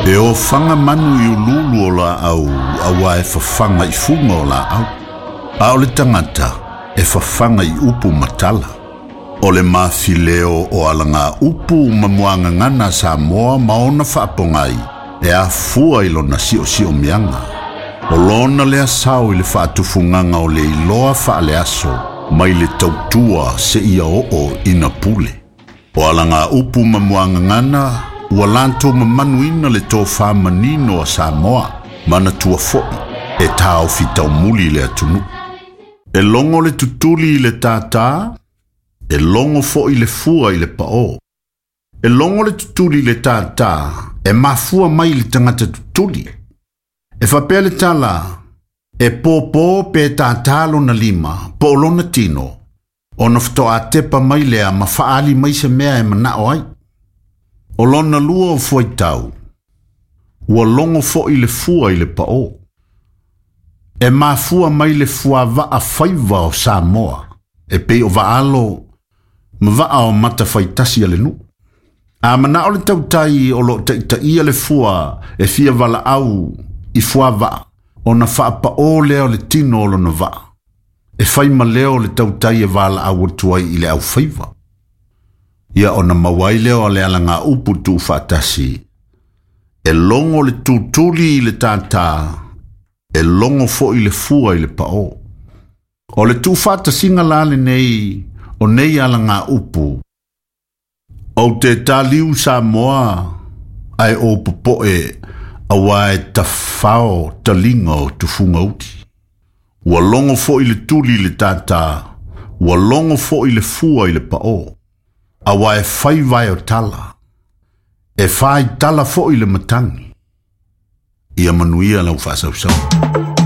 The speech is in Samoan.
E ofaga manu i uluulu o laau auā e fafaga i fuga o laau. A o le tagata e fafaga i upu ma tala. O le mafileo o alagaupu ma muagagana a Samoa ma ona faapogai e afua i lona siosiomiaga. O lona lea sao i le faatufugaga o le iloa faaleaso mai le tautua seia oo ina pule. O alagaupu ma muagagana ua latou mamanuina le tofa manino a Samoa, manatua foi e taofi taumuli le atunuu. E logo le tutuli i le tātā, e logo foi le fua i le paō. E logo le tutuli i le tātā, e mafua mai i le tagata tutuli. E faapea le tala, e pōpō pe tātā lona lima, po o lona tino, ona faatoa tepa mai lea ma faaali mai se mea e manao ai. O lona lua o fuaitau, ua logo foi le fua i le paō. E mafua mai le fuavaa faiva o Samoa, e pei o vaa-alo ma vaa o matafaitasi a le nuu. A manao le tautai o loo taitaia le fua e fia valaau i fuavaa, ona faapaō lea o le tino o lona vaa. E fai ma leo le tautai e valaau atu ai i le aufaiva. Ia ona maua ai lea o le alagaupu tuufaatasi. E logo le tutuli i le tātā, e logo foi le fua i le paō. O le tuufaatasiga la lenei o nei alagaupu, Ou te taliu Samoa ae ou popoe auā e tafao taliga o tufuga uli. Ua logo foi le tuli i le tātā, ua logo foi le fua i le paō. Auā e fai vae o tala, e fai tala foi le matagi. Ia manuia lau faasausau.